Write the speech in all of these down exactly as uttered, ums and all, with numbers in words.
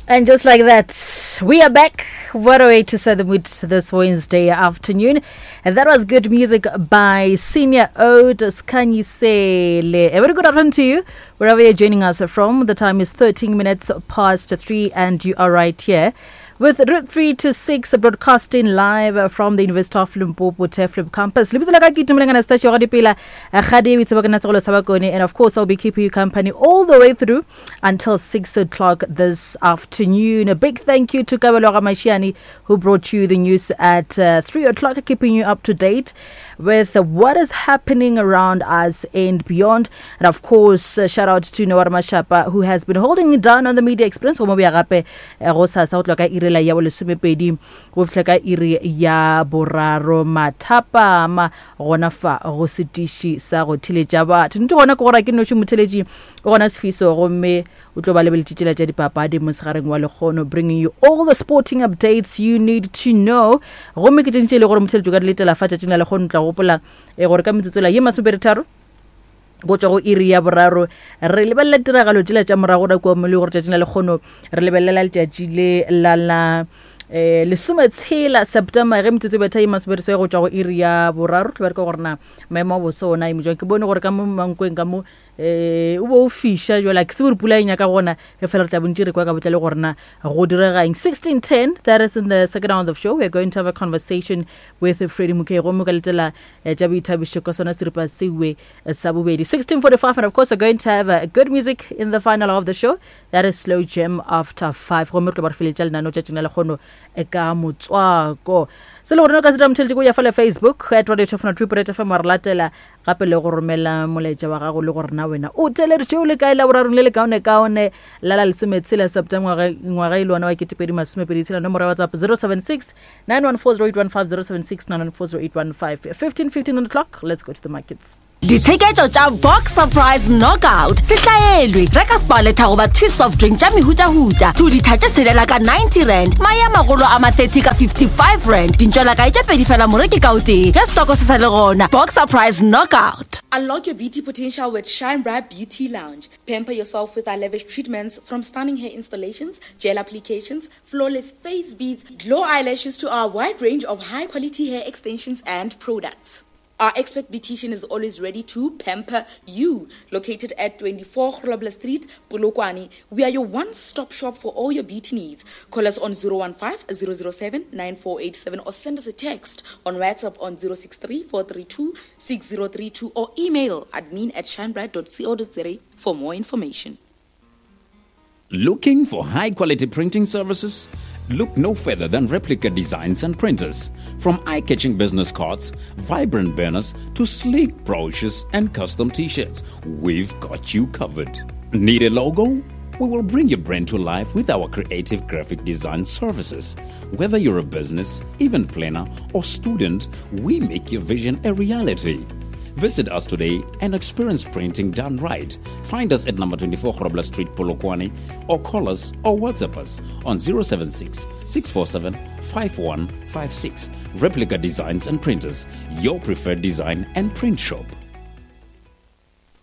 And just like that, we are back. What a way to set the mood this Wednesday afternoon. And that was good music by Senior Ode Skhanyisele. A very good afternoon to you, wherever you're joining us from. The time is thirteen minutes past three, and you are right here with Route three to six, broadcasting live from the University of Limpopo Turfloop campus. Lebitso la ka ke Itumeleng Anastasia wa Dipela, Gadi o itseba ke nna Tsegolo sa Bakone, and of course I'll be keeping you company all the way through until six o'clock this afternoon. A big thank you to Kabelo Ramashiani, who brought you the news at uh, three o'clock, keeping you up to date with what is happening around us and beyond. And of course, uh, shout out to Nawara Mashapa, who has been holding it down on the media experience. Go mo boya gape, eh, go sasa go tloha ka iri la ya bolesomepedi go fihla ka iri ya boraro mathapama gona fa go setiši sa go theletša batho. Nnete gona ke gore ke noši motheletši o gona Sefiso, gomme o tlo ba lebeletše tšela tša dipapadi mosegareng wa lekgono, bringing you all the sporting updates you need to know. Gomme ke tše ntši e le gore motheletši o ka di letela fa tšatšing la lekgono. Tla gopola eh, gore ka metsotso ye masomepedi tharo go tšwa go iri ya boraro re lebelela tiragalo tšela tša morago ra kua mo le gore tšatšing la lekgono re lebelela letšatši le la la eh lesometshela September ge metsotso e betha ye masomepedi seswai go tšwa go iri ya boraro. Tlo bereka gore na maemo a boso ona a eme jwang. Ke bone gore ka mo Mankweng ka mo eh o bo o fiša jwale, ke tsebe gore pula e nyaka gona e fela re tla bontši re kwa ka botlalo gore na go diregang. Sixteen ten, that is in the second round of show, we are going to have a conversation with Freddie Mokhe, gomme ka letela eh, tša boithabišo ka sona seripa sewe eh, sa bobedi sixteen forty-five. And of course we're going to have uh, good music in the final of the show, that is slow jam after five, gomme re tlo ba re feletša lenaneo tšatšing la lekgono eh, ka motswako. Se le gore no ka se dira motheletši ko ya fela Facebook at Radio Tefona Triple F M, wa re latela gape le go romela molaetša wa gago le gore na wena o theleditše o le kae la borarong le le kaone-kaone la la lesometshela September ngwaga ngwaga e le ona wa ketepedi masomepedi tshela. Nomoro ya WhatsApp zero seven six nine one four zero eight one five, zero seven six nine one four zero eight one five. fifteen fifteen on the clock, let's go to the markets. Ditsheketšo tša Box Surprise Knockout se hlaelwe. Reka Sparletta goba Twist soft drink tša mehutahuta two litha tše tshelela ka ninety rand, mae a magolo a ma thirty ka fifty-five rand, dintšwelakae tše pedi fela moreki ka o tee ge stoko se sa le gona. Box Surprise Knockout. Unlock your beauty potential with Shine Bright Beauty Lounge. Pamper yourself with our lavish treatments, from stunning hair installations, gel applications, flawless face beads, glow eyelashes to our wide range of high quality hair extensions and products. Our expert beautician is always ready to pamper you. Located at twenty-four Grobler Street, Polokwane, we are your one-stop shop for all your beauty needs. Call us on zero one five zero zero seven nine four eight seven or send us a text on WhatsApp on zero six three four three two six zero three two or email admin at shinebright dot co dot za for more information. Looking for high quality printing services? Look no further than Replica Designs and Printers. From eye catching business cards, vibrant banners, to sleek brochures and custom t shirts, we've got you covered. Need a logo? We will bring your brand to life with our creative graphic design services. Whether you're a business, event planner, or student, we make your vision a reality. Visit us today and experience printing done right. Find us at number twenty-four Grobler Street, Polokwane, or call us or WhatsApp us on zero seven six six four seven five one five six. Replica Designs and Printers, your preferred design and print shop.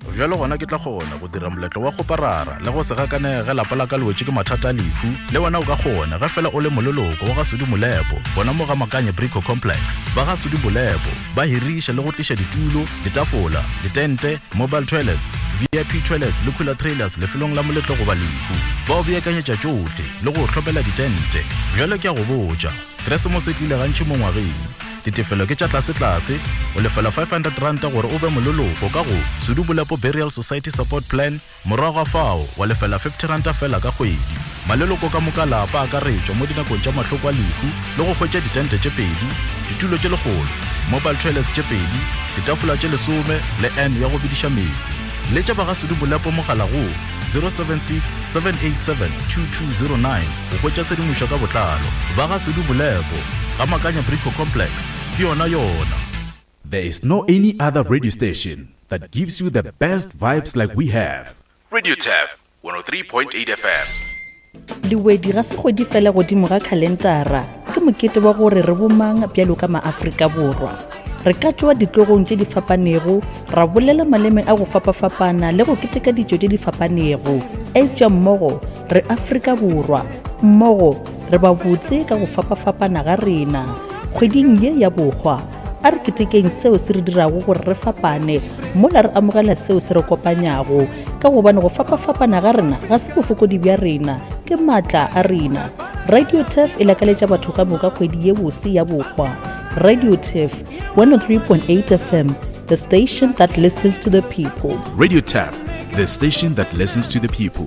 Bjalo gona ke tla kgona go dira moletlo wa kgoparara le go se gakanege lapa la ka le wetše ke mathata a lehu. Le wena o ka kgona ge fela o le moleloko wa ga Sudi Molepo gona mo ga Makanye Brico Complex. Ba ga Sudi Molepo ba hiriša le go tliša ditulo, ditafola, ditente, mobile toilets, V I P toilets le cooler trailers lefelong la moletlo goba lehu. Ba o beakanyetša tšohle le go hlopela ditente. Bjalo ke a go botša, Keresemose e tlile gantši mo ngwageng. Ditefelo ke tša tlasetlase, o lefela five hundred ranta gore o be moleloko ka go Sedubolepo Burial Society Support Plan, morago ga fao wa lefela fifty ranta fela ka kgwedi. Maleloko ka moka lapa akaretšwa mo dinakong tša mahloko a lehu le go hwetša ditente tše pedi, ditulo tše lekgolo, mobile toilets tše pedi, ditafola tše lesome le n ya go bediša meetse. Letša ba ga Sedubolepo mogala go zero seven six seven eight seven two two zero nine go hwetša tshedimošo ka botlalo. Ba ga Sedubolepo ga Makanya Brico Complex ke yona yona. There is no any other radio station that gives you the best vibes like we have. Radio T E F one oh three point eight F M. Lewedi ga se kgwedi fela godimo ga khalentara, ke mokete wa gore re bomang bjalo ka maAfrika Borwa. Re ka tšwa ditlogong tše di fapanego, ra bolela maleme a go fapafapana le go keteka ditšo tše di fapanego, eupša mmogo re Afrika Borwa. Mmogo re ba botse ka go fapafapana ga rena. Kgweding ye ya bohwa, a re ketekeng seo se re dirago gore re fapane mola re amogela seo se re kopanyago, ka gobane go fapafapana ga rena ga se bofokodi bja rena, ke maatla a rena. Radio Turf e lakaletša batho ka moka kgwedi ye bose ya bohwa. Radio Turf one oh three point eight F M, the station that listens to the people. Radio Turf, the station that listens to the people.